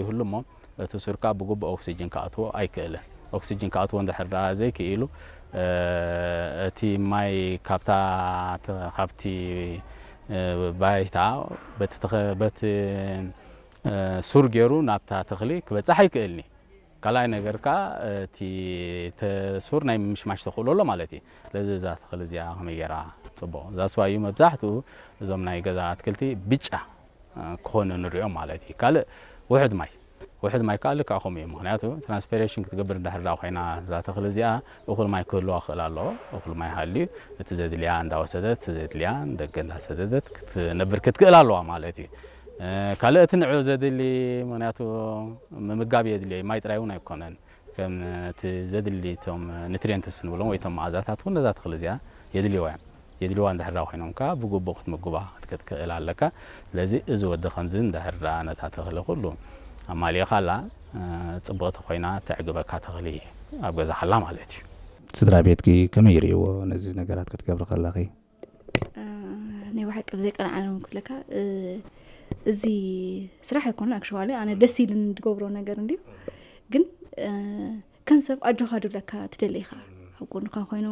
ይህሉ እሞ እቲ ሱርካ ብግቡእ ኦክሲጅን ክኣትዎ ኣይክእልን። ኦክሲጅን ክኣትዎ እንድሕር ደኣ ዘይክኢሉ እቲ ማይ ካብታ ካብቲ ባይታ በቲ ሱር ገይሩ ናብታ ተኽሊ ክበፅሕ ኣይክእልኒ። ካልኣይ ነገር ከኣ እቲ ሱር ናይ ምሽማሽ ተኽእሎ ኣሎ ማለት እዩ። ስለዚ እዛ ተኽሊ እዚኣ ከመይ ገይራ ፅቡቕ እዛ ስዋ እዩ መብዛሕትኡ እዞም ናይ ገዛ ኣትክልቲ ብጫ ክኾኑ ንሪኦም ማለት እዩ። ካልእ ውሕድ ማይ ውሕድ ማይ ከዓ ልክዕ ከምኡ እዩ። ምክንያቱ ትራንስፒሬሽን ክትገብር እንዳሕር ዳ ኮይና እዛ ተኽሊ እዚኣ እኹል ማይ ክህልዋ ክኽእል ኣለዎ። እኹል ማይ ሃልዩ እቲ ዘድልያ እንዳወሰደት እቲ ዘድልያ ደገ እንዳሰደደት ክትነብር ክትክእል ኣለዋ ማለት እዩ። ካልእ እቲ ንዑ ዘድሊ ምክንያቱ ምምጋብ የድልዮ ማይ ጥራይ እውን ኣይኮነን። ከም እቲ ዘድሊ እቶም ኒትሪየንትስ ንብሎም ወይ እቶም መኣዛታት እውን ነዛ ተኽሊ እዚኣ የድልዋ እዮም። የድልዋ እንድሕር ኮይኖም ከዓ ብግቡእ ክትምግባ ክትክእል ኣለካ። ስለዚ እዚ ወዲ ከምዚ እንድሕር ነታ ተኽሊ ኩሉ ኣማሊእኻላ ፅብቕቲ ኮይና ተዕግበካ ተኽሊ ኣብ ገዛኻላ ማለት እዩ። ስድራ ቤትኪ ከመይ ይርእይዎ ነዚ ነገራት ክትገብሪ ከለኺ? ናይ ብሓቂ ብዘይ ቀንዓሎም ክብለካ እዚ ስራሕ ኣይኮነ ኣክሽዋሊ ኣነ ደስ ኢልን ዝገብሮ ነገር እንድዩ ግን ከም ሰብ ኣጆኻ ድብለካ ትደሊ ኢኻ ኣብ ጎንካ ኮይኑ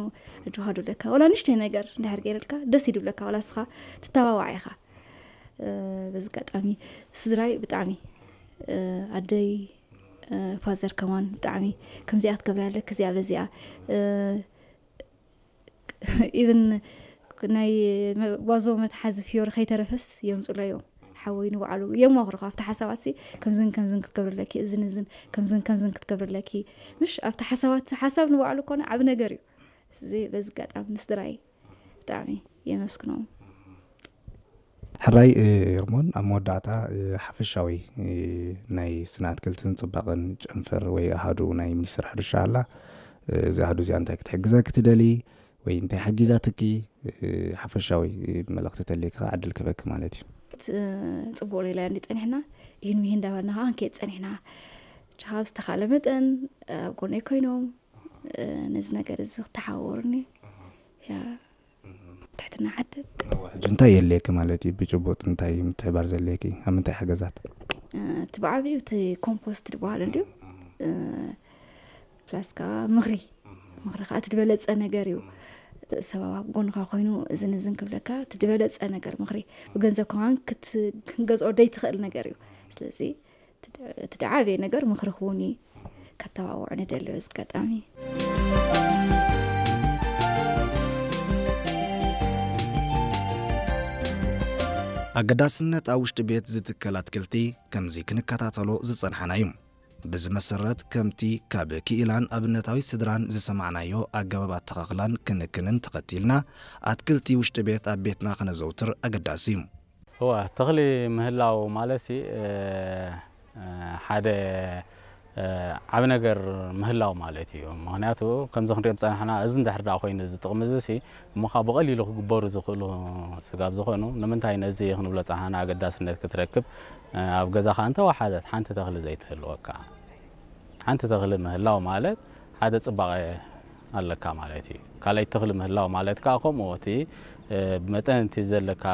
ኣጆኻ ድብለካ ወላ ንሽተይ ነገር እንድሕር ገይረልካ ደስ ይድብለካ ወላ ስኻ ትተባባዕ ኢኻ በዚ ኣጋጣሚ ስድራይ ብጣዕሚ ኣደይ ፋዘር ከማን ብጣዕሚ ከምዚኣ ክትገብራ ኣለኪ እዚኣ በዚኣ ኢቭን ናይ ጓዝቦ መትሓዚ ፍዮሪ ከይተረፈስ የምፅሎ እዮም ሓወይ ንባዕሉ የማኽርኻ ኣብቲ ሓሳባት ሲ ከምዝን ከምዝን ክትገብርለኪ እዝን እዝን ከምዝን ከምዝን ክትገብርለኪ ምሽ ኣብቲ ሓሳባት ሓሳብ ንባዕሉ ኮነ ዓብ ነገር እዩ እዚ በዚ ኣጋጣሚ ንስድራይ ብጣዕሚ የመስግኖም ሕራይ ርሞን ኣብ መወዳእታ ሓፈሻዊ ናይ ስነ ኣትክልትን ፅባቐን ጨንፈር ወይ ኣሃዱ ናይ ሚኒስትር ሕርሻ ኣላ እዚ ኣሃዱ እዚኣ እንታይ ክትሕግዘ ክትደሊ ወይ እንታይ ሓጊዛትኪ ሓፈሻዊ መልእኽቲ ተልይኪ ከዓ ዕድል ክበኪ ማለት እዩ። ጽቡቕ ሌላ እንዲ ጸኒሕና ይህን ምሂን እንዳበልና ከዓ ክንከይድ ጸኒሕና። ቻሃብ ዝተኻለ መጠን ኣብ ጎነይ ኮይኖም ነዚ ነገር እዚ ክተሓወሩኒ ትሕትና ሓተት። ሕጂ እንታይ የድልየኪ ማለት እዩ? ብጭቡጥ እንታይ ምትሕባር ዘድልየኪ? ኣብ ምንታይ ሓገዛት? እቲ ብዓብዩ እቲ ኮምፖስት ዝበሃል እንድዩ ፕላስ ከዓ ምኽሪ ምኽሪ ከዓ እቲ ዝበለፀ ነገር እዩ ሰብ ኣብ ጎንኻ ኮይኑ እዝን እዝን ክብለካ እቲ ዝበለፀ ነገር ምኽሪ ብገንዘብ ከማን ክትገዝኦ ደይትኽእል ነገር እዩ ስለዚ እቲ ደዓበየ ነገር ምኽሪ ክውን እዩ ከተባብዑ ንደሊ በዚ ኣጋጣሚ ኣገዳስነት ኣብ ውሽጢ ቤት ዝትከል ኣትክልቲ ከምዚ ክንከታተሎ ዝጸንሓና እዩ። በዚ መሰረት ከምቲ ካብ ክኢላን ኣብነታዊ ስድራን ዝሰማዕናዮ ኣገባብ ኣተኻኽላን ክንክንን ተኸቲልና ኣትክልቲ ውሽጢ ቤት ኣብ ቤትና ከነዘውትር ኣገዳሲ እዩ። እዋ ተኽሊ ምህላው ማለትሲ ሓደ ዓብ ነገር ምህላው ማለት እዩ። ምኽንያቱ ከምዚ ክንሪኦም ዝጸናሕና እዚ እንድሕር ደኣ ኮይኑ እዚ ጥቕሚ እዚ ሲ እሞ ኸዓ ብቐሊሉ ክግበሩ ዝኽእሉ ስጋብ ዝኾኑ ንምንታይ ነዚ ክንብሎ ጸናሕና ኣገዳስነት ክትረክብ ኣብ ገዛኻ እንተወሓደት ሓንቲ ተኽሊ ዘይትህልወካ ሓንቲ ተኽሊ ምህላው ማለት ሓደ ጽባቐ ኣለካ ማለት እዩ። ካልኣይ ተኽሊ ምህላው ማለት ከዓ ከምኡ እቲ ብመጠን እቲ ዘለካ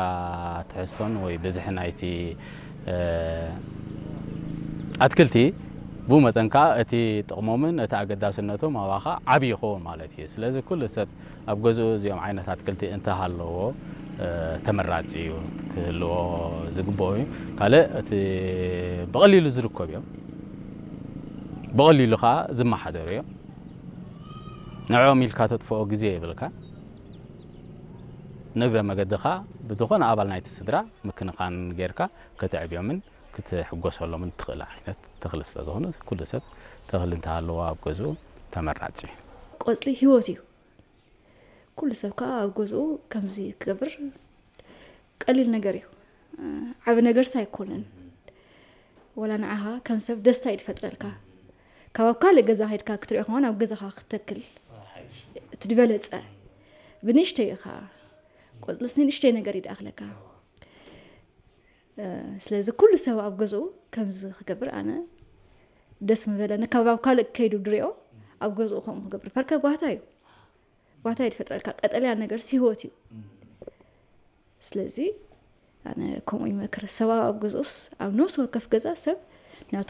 ትሕዝቶን ወይ ብዝሒ ናይቲ ኣትክልቲ ብኡ መጠን ከዓ እቲ ጥቕሞምን እቲ ኣገዳስነቶም ኣባኻ ዓብዪ ይኸውን ማለት እዩ። ስለዚ ኩሉ ሰብ ኣብ ገዝኡ እዚኦም ዓይነት ኣትክልቲ እንተሃለዎ ተመራፂ እዩ ክህልዎ ዝግብኦ እዩ። ካልእ እቲ ብቐሊሉ ዝርከቡ እዮም። ብቐሊሉ ከዓ ዝመሓደሩ እዮም። ንዕኦም ኢልካ ተጥፍኦ ግዜ የብልካ። ንእግረ መገድኻ ብዝኾነ ኣባል ናይቲ ስድራ ምክንኻን ጌርካ ከተዕብዮምን ክትሕጎሰሎምን ትኽእል ዓይነት ተኽሊ ስለ ዝኾነ ኩሉ ሰብ ተኽሊ እንተሃለዎ ኣብ ገዝኡ ተመራፂ እዩ። ቆፅሊ ህይወት እዩ። ኩሉ ሰብ ከዓ ኣብ ገዝኡ ከምዚ ክገብር ቀሊል ነገር እዩ። ዓብ ነገርስ ኣይኮነን። ወላ ንዓኻ ከም ሰብ ደስታ እዩ ዝፈጥረልካ። ካብ ኣብ ካልእ ገዛ ከይድካ ክትሪኦ ከማን ኣብ ገዛኻ ክትተክል እቲ ዝበለፀ ብንእሽተይ ኢኻ ቆፅልስ ንእሽተይ ነገር ይደኣኽለካ ስለዚ ኩሉ ሰብ ኣብ ገዝኡ ከምዚ ክገብር ኣነ ደስ ምበለኒ ካብ ኣብ ካልእ ከይዱ ድሪኦ ኣብ ገዝኡ ከምኡ ክገብር ፐርከ ጓታ እዩ ጓታ እዩ ዝፈጥረልካ ቀጠልያ ነገር ህይወት እዩ ስለዚ ኣነ ከምኡ ይመክር ሰብኣዊ ኣብ ገዝኡስ ኣብ ነፍሲ ወከፍ ገዛ ሰብ ናቱ